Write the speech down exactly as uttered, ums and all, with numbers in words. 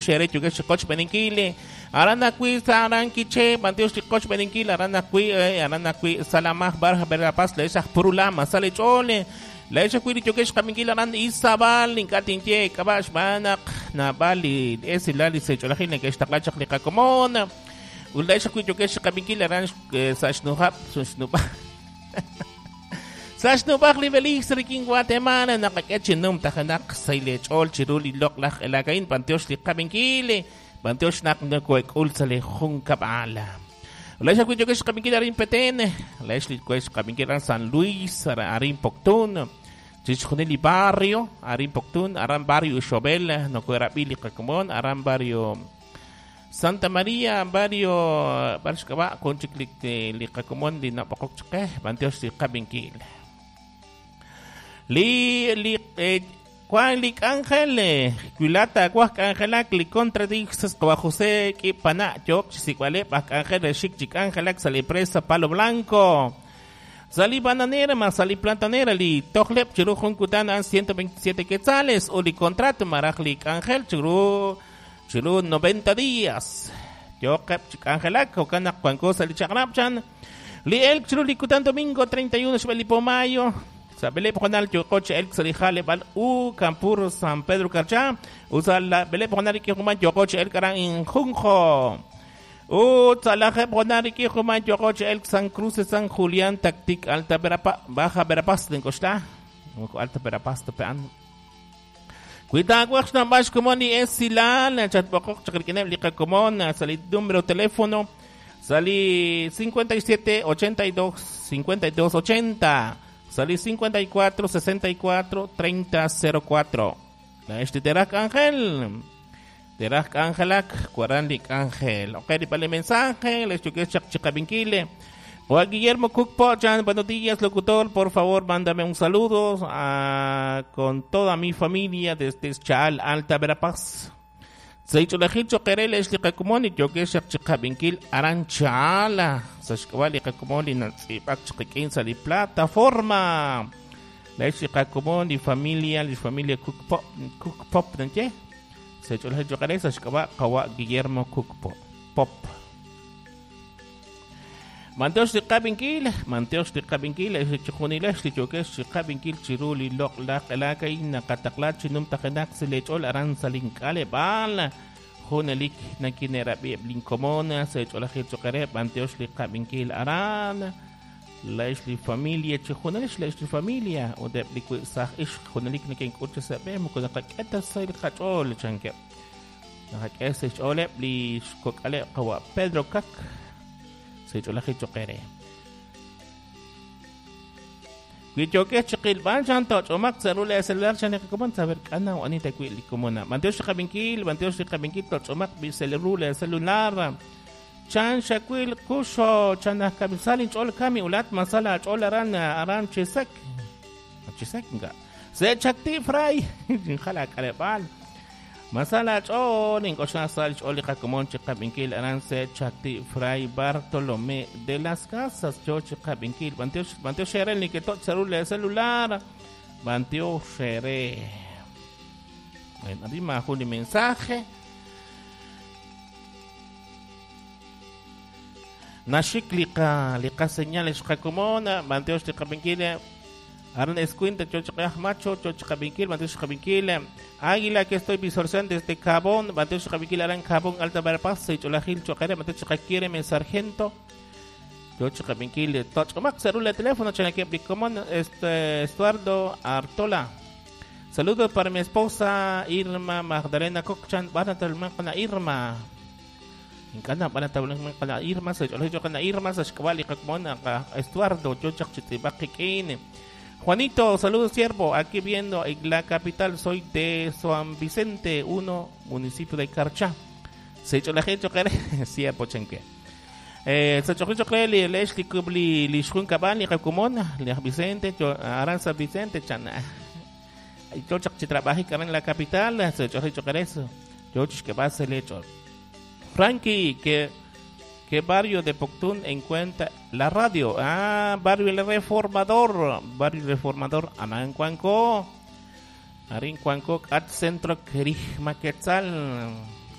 Xere yokex qoch beninkil arana kwi saran kiche bantiox qoch beninkil arana kwi arana kwi salamaj barja verapaz le esas purulama sale chole le esas kwi yokex kaminkil aran isabal inkatinche kabash banak nabali esilali se cholajil que esta li kakomon ula esas kwi yokex kaminkil aran sashnuhap sushnupa Sashnubaj li Belix rikin Guatemala nakakechinum tajanak sailechol chiruli loklaj elakain pantiox li kabinkile pantiox nak nakuek ulsale junkabala. La esa cuyo que es kabinkil arin Petén, la es li kabinkil San Luis arin Poctún, chichjoneli barrio arin Poctún, aran barrio Xobel no kuerabili kakomon, aran barrio Santa María, barrio Barshkaba, conchiklik li kakomon li napokokchke, pantiox li kabinkil. Li li eh, Juan li Ángel Culata Juan Ángel li contradixes kwa José ki pana yok sikwale pak Ángel shik chik Ángel sali presa Palo Blanco sali bananera más sali plantanera li toklep chiru junkutan an ciento veintisiete quetzales o li contrato maraj li Ángel chiru chiru noventa días yok chik Ángel kokana Juan cosa li chakrapchan li el chiru li kutan domingo treinta y uno xbelipo mayo Sabele Ponal Yocoche el Xalijale Bal U Campur San Pedro Carchá Usa la Bele Ponal Kijuman Yocoche el Karan Injunjo U Tzalaje Ponal Kijuman Yocoche el San Cruz San Julián Tactic Alta Verapaz Baja Verapaz de Costa Alta Verapaz Topean Cuida Guaxna Bash Comoni es Silal Chatbokok Chacriquineb Lica Comón Salid número teléfono Salí cincuenta y siete ochenta y dos cincuenta y dos ochenta Salí cincuenta y cuatro, sesenta y cuatro, treinta, cero cuatro. La este Terak Ángel. Terak Ángelak, Cuaranlik Ángel. Ok, dipale mensaje, les choque chak chikabinquile. Juan Guillermo Cookpochan, buenos días, locutor. Por favor, mándame un saludo a, con toda mi familia desde Chaal, Alta Verapaz. Seicholajicho quereles liqakumoni yokesh chikabinquil aranchala. Sashkawali kakumoni natsipak chikikin sali plataforma. La chiqakumoni familia, li familia Cook Pop, Cook Pop, ¿no? Seicholajicho quereles sashkawa kawa Guillermo Cook Pop. Manteos liqabinkil, manteos liqabinkil, chiqunilesh liyokesh chiqabinkil chiruli loq laq elakay naqataqlat chinum tajinak silechol aran salinkale bal junelik nakinerabi blinkomona secholajil choqere manteos liqabinkil aran laish li familia chijunelish laish li familia o de blikusaj ish junelik nakinkucha sabe mukunaqak'eta sayl qach'ol chanke naqak'esa ch'ole bli xkok'ale qawa Pedro Kak Secholaje choquere. Guichoque chiquilban chanto chomac celular celular chanecoman saber cana o anita cuilicomona. Manteo chicabinkil, manteo chicabinkil tochomac bicelule celular. Chan shaquil cusho chanacamisalin chol kami ulat masala chol aran aran chisek. Chisek nga. Se chakti fray. Jala carebal. Masala chol inkoshna sal chol kakomon chikabinkil aran se chakti fray Bartolomé de las Casas yo chikabinkil banteo banteo shere ni que tot celular celular banteo shere. Bueno, adima juli mensaje. Nashik liqa liqa señales kakomona banteo chikabinkil Aran escuinta, chochqaj macho, chochqabinkil, banteo chqabinkil, águila que estoy visualizando desde Cabón, banteo chqabinkil, aran Cabón, Alta Verapaz, Cholajil, Chocaré, banteo chqaquíreme, sargento, chochqabinkil, tochmac, celular, teléfono, chanaqueblicomón, este, Estuardo Artola. Saludos para mi esposa Irma Magdalena Cochan, van a talman Irma. Inkana van a talman Irma, se Irma, Sashkawali, Cacmona, Estuardo, chochaq, Juanito, saludos siervo, aquí viendo en la capital, soy de San Vicente, uno, municipio de Carchá. Se echó la gente, siervo chenque. Eh, se echó el Leslie Kubli, Lishun Cabal, Jacumona, Vicente, Aranza Vicente, Chana. Yo trabajo en la capital, se echó eso. Yo que va a ser hecho. Frankie, que ¿qué barrio de Poctún encuentra la radio? Ah, barrio El Reformador. Barrio Reformador, Anan Cuanco. Arin Cuanco, at Centro Querijma Quetzal.